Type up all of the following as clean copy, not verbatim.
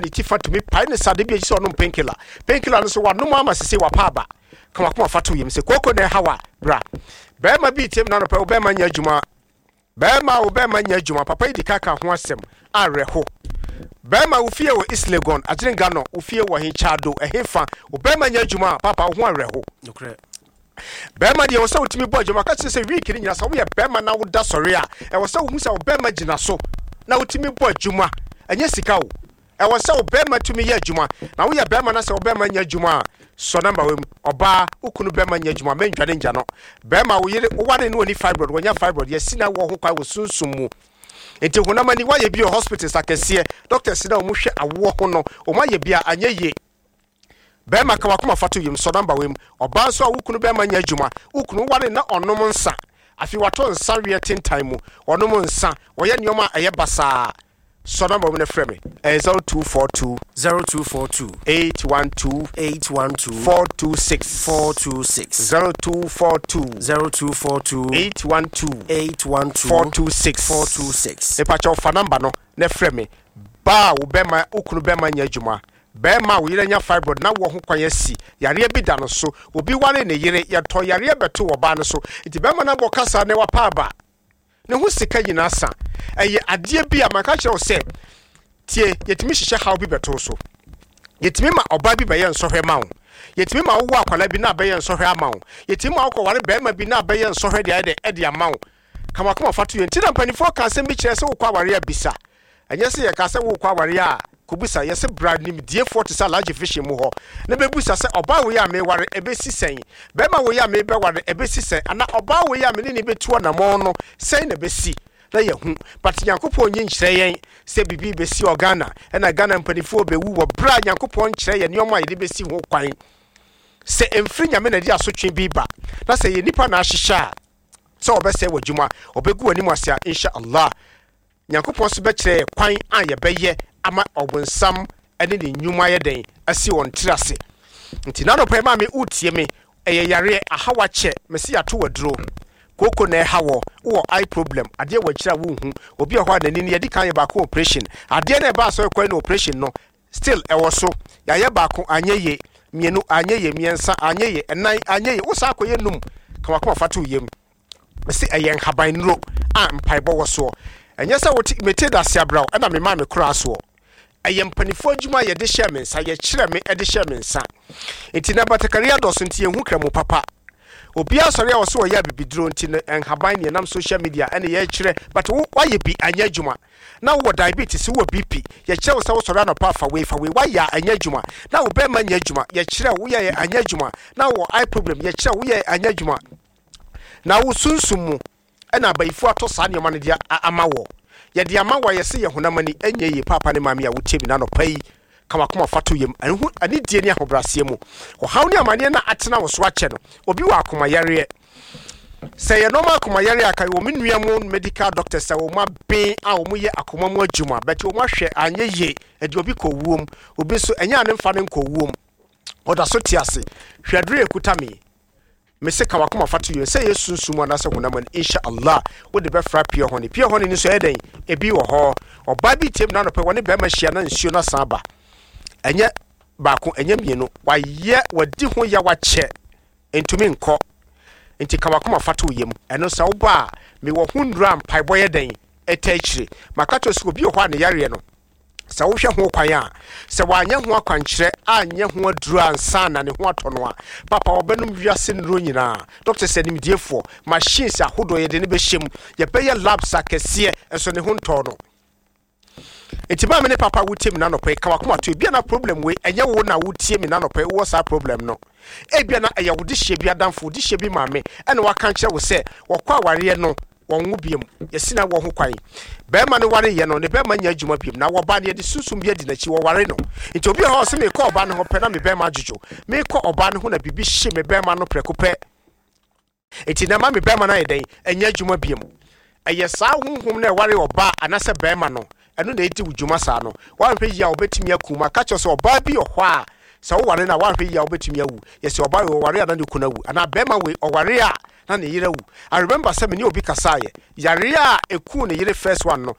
ne ti fa tumi pae ne sa de bi akyi sɛ ɔnom painkiller. Painkiller no so wanom ama sese wapa aba. Ka wakoma fa to yam sɛ kooko na ɛhaw a bra. Bɛrima bi tem na anɔpa wo bɛrima nyɛ adwuma. Bɛrima wo bɛrima nyɛ adwuma. Papa yi di kaka ho asɛm awerɛho. Bɛrima wo fie wɔ East Legon, Agyerenga no, wo fie wɔ he Kyado, ɛhe fa. Wo bɛrima nyɛ adwuma a papa wo ho awerɛho. Nokorɛ. Bɛrima deɛ ɛwɔ sɛ wotumi bɔ adwuma ka kyerɛ sɛ week no nyina sɛ woyɛ bɛrima na woda sɔre a ɛwɔ sɛ wohu sɛ wo bɛrima gyina so na wotumi bɔ adwuma. Ɛnyɛ sika o. Ɛwɔ sɛ wo bɛrima tumi yɛ adwuma. Na woyɛ bɛrima na sɛ wo bɛrima nyɛ adwuma a sɔ namba wei mu. Ɔbaa, wo kunu bɛrima nyɛ adwuma mɛndwane ngya no. Bɛrima wo yere woware no ɔni fibroid wanya fibroid yɛsi na wɔ ho kwan wɔ sunsum mu. Nti honam ani woayɛ bi wɔ hospitals akɛseɛ doctors na wɔn hwɛ awoɔ ho no wɔn ayɛ bi a anyɛ yie. Bɛrima ka wakoma fa to yam sɔ namba wei mu. Ɔbaa nso a wo kunu bɛrima nyɛ adwuma, wo kunu woware na ɔnom nsa, afei watɔ nsa weɛ tentan mu, ɔnom nsa, ɔyɛ nneɛma a ɛyɛ basaa. Sɔ namba mu na frɛ me. Ɛyɛ 0242 0242 812 812 426 426 0242 0242 812 812 426 426. Mepakyɛw fa namba no na frɛ me. Baa wo bɛrima wo kunu bɛrima nyɛ adwuma. Bɛrima a wo yere anya fibroid na wɔ ho kwan asi yareɛ bi da no so. Obi ware ne yere yɛtɔ yareɛ bɛto ɔbaa no so. Nti bɛrima no abɔ kasa na wapa aba. Ne ho sika nyinaa sa. Ɛyɛ adeɛ bi a maka kyerɛ wo sɛ tie yɛtumi hyehyɛ haw bi bɛto so. Yɛtumi ma ɔbaa bi bɛyɛ nsɔhwɛ ma wo. Yɛtumi ma wowɔ akwadaa bi na abɛyɛ nsɔhwɛ ama wo. Yɛtumi ma wokɔware bɛrima bi na abɛyɛ nsɔhwɛ de ayɛ dɛ ɛde ama wo. Kamakama fa to yɛ. Nti na mpanimfoɔ ka asɛm bi kyerɛ sɛ wokɔ aware a bisa. Ɛnyɛ sɛ yɛka sɛ wokɔ aware a kɔbusa. Yɛsɛ bra nimdiefoɔ te sɛ Alhaji Vision mu hɔ na bɛbusa sɛ ɔbaa wei a meware ɛbɛsi sɛn, bɛrima wei a mebɛware ɛbɛsi sɛn, anaa ɔbaa wei a mene ne bɛtu anammɔn no sɛn na ɛbɛsi na yɛhu. But Nyankopɔn nyi nkyerɛ yɛn sɛ biribi bɛsi wɔ Ghana ɛna Ghana mpanimfoɔ bɛwu wɔ berɛ a Nyankopɔn nkyerɛ yɛn nneɛma a yɛde bɛsi ho kwan. Sɛ ɛmfiri Nyame na ɛde asotwe bi ba na sɛ yɛ nipa na ahyehyɛ a sɛ ɔbɛsɛe w'adwuma, ɔbɛgu w'anim ase a, insha Allah Nyankopɔn nso bɛkyerɛ yɛ kwan a yɛbɛyɛ ama ɔbonsam ne ne nnwuma yɛ dɛn asi wɔn tiri ase. Nti n'anɔpa yi maame wotie me, ɛyɛ yareɛ ahaw akyɛ, mese yɛato w'aduro. Kooko na ɛha wɔ, wowɔ eye problem, adeɛ wɔ akyiri a wonhu. Obi wɔ hɔ a n'ani no yɛdi kan yɛ baako operation, adeɛ no a ɛbaa sɛ ɔkɔɛ no operation no still ɛwɔ so. Yɛayɛ baako anyɛ yie, mmienu anyɛ yie, mmiɛnsa anyɛ yie, ɛnan anyɛ yie, wo saa akɔyɛ num, ka wakoma fa to yam. Mese ɛyɛ nhaban nnuro a mpaebɔ wɔ soɔ. Ɛnyɛ sɛ wote mete dase abraw ɛna me maa me koraa soɔ. Ɛyɛ mpanimfoɔ adwuma a yɛde hyɛɛ me nsa, yɛkyerɛ me de hyɛɛ me nsa. Nti na batakari adɔso nti yɛnhu kramu papa. Obiara sɔre a ɔsɛ ɔyɛ abibiduro nti no nhaban ne yɛnam social media ɛne yɛkyerɛ, but wo wayɛ bi anyɛ adwuma. Na wowɔ diabetes, wowɔ BP, yɛkyerɛ wo sɛ wosɔre anɔpa fa wei fa wei, wayɛ a ɛnyɛ adwuma. Na wo bɛrima nyɛ adwuma, yɛkyerɛ wo woyɛ anyɛ adwuma. Na wowɔ eye problem, yɛkyerɛ wo woyɛ anyɛ adwuma. Na wo sunsum mu ɛna abayifo atɔ saa nneɛma no de ama wɔ. Yɛde ama wɔ yɛsɛ yɛ honam ani ɛnyɛ yie. Paapa ne maame a wotie mi n'anɔpa yi, ka wakoma fa to yam ɛho anidie ne ahobrɛaseɛ mu. Ɔhaw ne amanneɛ na atena wo so akyɛ no, obi wɔ akomayareɛ. Sɛ yɛ nɔɔma akomayareɛ a, ka wɔ me nua mu medical doctors sɛ wɔn aben a wɔn yɛ akoma mu adwuma, bɛte wɔn ahwɛ anyɛ yie, ɛde obi kɔ wuom, obi nso ɛnyɛ ane mfa ne nkɔ wuom, ɔda so te ase. Hwɛ aduro ekuta mi. Mese ka wakoma fa to yɛn sɛ yɛ sunsum anaasɛ honam ani, insha Allah wode bɛfra pure honey. Pure honey no nso ɛyɛ dɛn? Ebi wɔ hɔ. Ɔbaa bi tie mu n'anɔpɛ wɔne bɛrima hyia na nsuo no asan aba. Ɛnyɛ baako, ɛnyɛ mmienu. Wayɛ wadi ho ya wakyɛ ntumi nkɔ. Nti ka wakoma fa to yam. Ɛno sɛ woba a mewɔ ho nnuro a mpaebɔ yɛ dɛn ɛta akyire. Maka kyerɛ sɛ obi wɔ hɔ a ne yareɛ no sɛ wohwɛ ho kwan a sɛ wanyɛ ho akwankyerɛ anyɛ ho aduro ansa na ne ho atɔ no a, papa wɔbɛnom wiase nnuro nyinaa. Doctors animdiefoɔ, machines ahodoɔ yɛde ne bɛhyɛ mu, yɛbɛyɛ labs akɛseɛ nso ne ho ntɔɔ no. Nti maame ne papa wotie me nanɔpɛ, ka wakoma to. Ebia na problem wei ɛnyɛ wo na wotie me nanɔpɛ wowɔ saa problem no. Ebia na ɛyɛ wo de hyɛ bi adamfo, wo de hyɛ bi maame ɛna waka nkyerɛ wo sɛ wɔkɔ awareɛ no wɔn wo biam, yɛsi na wɔ ho kwan. Bɛrima no ware yɛ no ne bɛrima nya adwuma biam na wɔba no yɛde sunsum bi adi n'akyi wɔware no. Nti obi wɔ hɔ a ɔsɛ mekɔ ɔbaa no ho pɛ na me bɛrima adwodwo, mekɔ ɔbaa no ho na biribi hye me bɛrima no prɛko pɛ, nti na ma me bɛrima no ayɛ dɛn ɛnyɛ adwuma biam. Ɛyɛ saa honhom na ɛware ɔbaa anaasɛ bɛrima no, ɛno na ɛdi wo dwuma saa no. Woanhwɛ yie a wobɛtumi aku mu. Aka kyerɛ sɛ ɔbaa bi wɔ hɔ a sɛ woware no a woanhwɛ yie a wobɛtumi awu. Yɛsɛ ɔbaa wei ɔware a na ne kunu awu, anaa bɛrima wei ɔware a na ne yere awu. I remember sɛ me ne obi kasaeɛ, yareɛ a ɛkuu ne yere first one no,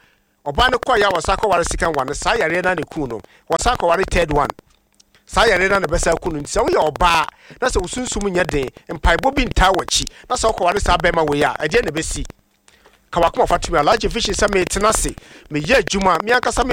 Ɔbaa no kɔeɛ a wɔsan kɔware second one no, saa yareɛ no ara na ɛkuu no. Wɔsan kɔware third one, saa yareɛ no ara na ɛbɛsan aku no. Nti sɛ woyɛ ɔbaa na sɛ wo sunsum nyɛ den, mpaebɔ bi ntaa w'akyi, na sɛ wokɔware saa bɛrima wei a, ɛdeɛn na ɛbɛsi? Ka w'akoma fa to me. Alhaji Vision sɛ metena ase, meyɛ adwuma, me ankasa me.